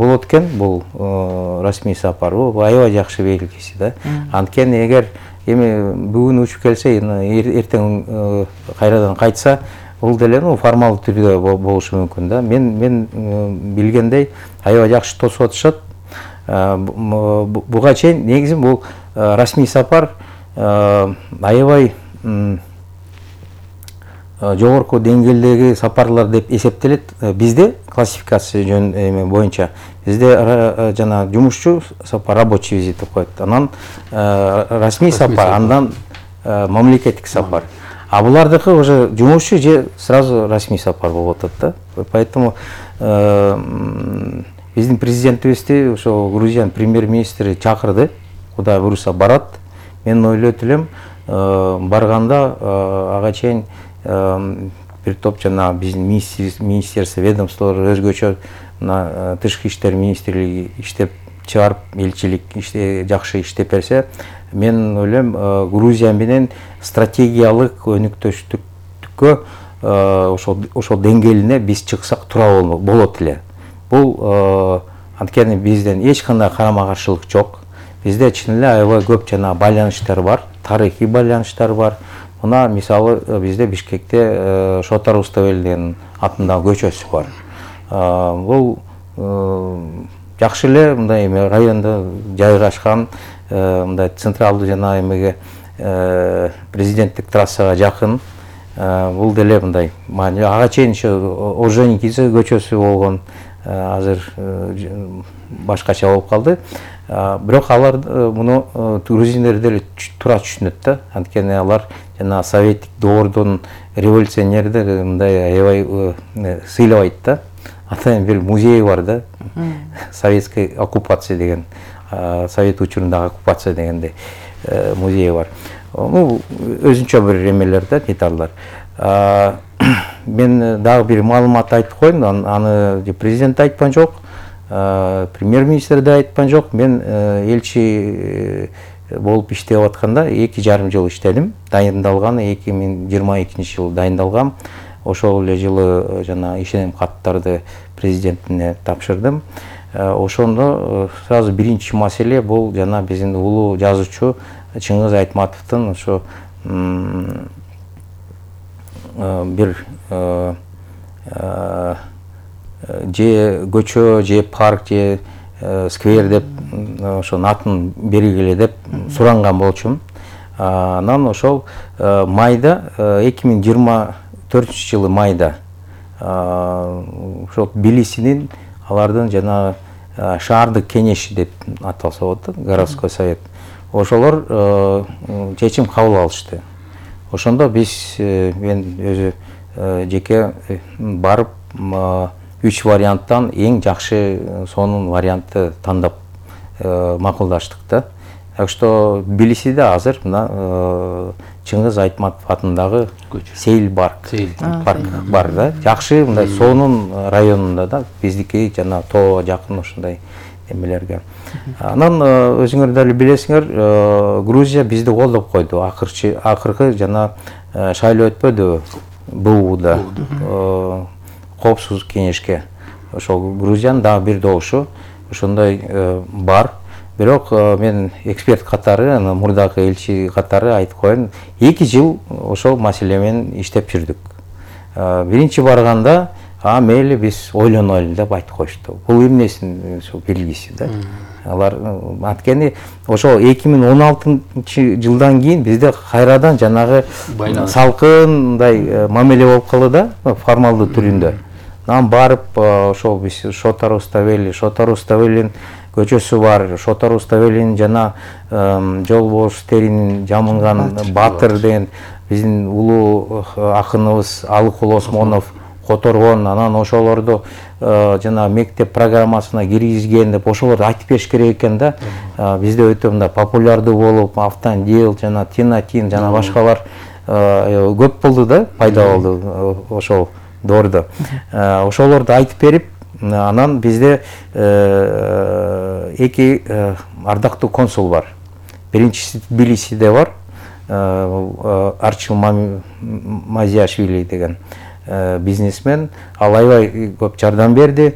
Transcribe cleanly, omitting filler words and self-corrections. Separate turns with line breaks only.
болот экен бул расмий сапар. Бул аябай жакшы белгиси да. Анткени эгер эми бүгүн учуп келсе, эртең кайрадан кайтса, бул деле формалдуу түрдө болушу мүмкүн да. Мен билгендей аябай жакшы тосуп атышат. Буга чейин негизи бул расмий сапар аябай жогорку деңгээлдеги сапарлар деп эсептелет. Бизде классификация боюнча бизде жана жумушчу сапар, рабочий визит деп коет. Анан расмий сапар, андан мамлекеттик сапар. А булардыкы уже жумушчу же сразу расмий сапар болуп атат да. Поэтому биздин президентибизди ошо Грузиянын премьер-министри чакырды. Кудай буюрса барат. Мен ойлойт элем, барганда ага чейин бир топ жана биздин министерство, ведомстволор өзгөчө мына тышкы иштер министрлиги иштеп чыгарып, элчилик жакшы иштеп берсе, мен ойлойм Грузия менен стратегиялык өнүктүштүккө ошол деңгээлине биз чыксак туура болот эле. Бул анткени бизден эч кандай карама-каршылык жок. Бизде чын эле аябай көп жана байланыштар бар, тарыхый байланыштар бар. Мына мисалы бизде Бишкекте Шотар Руставели деген атындагы көчөсү бар. Бул жакшы эле мындай райондо жайгашкан, мындай централдуу жана эмеге президенттик трассага жакын. Бул деле мындай ага чейин Орджоникидзе көчөсү болгон, азыр башкача болуп калды. Бирок алар муну грузиндер деле туура түшүнөт да. Анткени алар жана советтик доордун революционерлери мындай аябай сыйлабайт да. Атайын бир музей бар да. Советская оккупация деген, совет учурундагы оккупация дегендей музей бар. Өзүнчө бир эмелер да, деталдар. Мен дагы бир маалымат айтып коеюн, аны президент айтпан жок, премьер-министр да айтпан жок. Мен элчи болуп иштеп атканда 2,5 жыл иштедим. Дайындалганы 2022 жылы дайындалгам. Ошол эле жылы жана ишенем каттарды президентине тапшырдым. Ошондо сразу биринчи маселе бул жана биздин улуу жазуучу Чыңгыз Айтматовдун ошо бир же көчө, же парк, же сквер деп ошо атын бергиле деп суранган болчумун. Анан ошол майда 2024 жылы майда ошол Тбилисинин алардын жана шаардык кеңеши деп аталса болот, городской совет. Ошолор чечим кабыл алышты. Ошондо биз мен өзү жеке барып 3 варианттан эң жакшы сонун вариантты тандап макулдаштык да. Так что Тбилисиде азыр мына Чыңгыз Айтматов атындагы Сейил парк бар да. Жакшы мындай сонун районунда да, биздики жана тоо жакын ошондой эмелерге. Анан өзүңөр дали билесиңер, Грузия бизди колдоп койду. Акыркы жана шайлоо өтпөдү БУда, коопсуздук кеңешке. Ошол Грузиянын дагы бир добушу ошондой бар. Бирок мен эксперт катары, мурдагы элчи катары айтып коеюн, 2 жыл ошол маселе менен иштеп жүрдүк. Биринчи барганда мейли биз ойлонойлу деп айтып коюшту. Бул эмнесин белгиси да. Алар анткени ошо 2016 жылдан кийин бизде кайрадан жанагы салкын мындай мамиле болуп калды да, формалдуу түрүндө. Анан барып ошол биз Шотар Руставелинин көчөсү бар, Шотар Руставелинин жана Жолбоштеринин жамынган Батыр деген биздин улуу акыныбыз Алыкул Осмонов которгон, анан ошолорду жана мектеп программасына киргизген деп ошолорду айтып бериш керек экен да. Бизде өтө мындай популярдуу болуп, Автандел жана Тинатин жана башкалар көп болду да, пайда болду ошол доордо. Ошолорду айтып берип, анан бизде 2 ардактуу консул бар. Биринчиси Тбилисиде бар, Арчил Мазиашвили деген бизнесмен. Ал аябай көп жардам берди.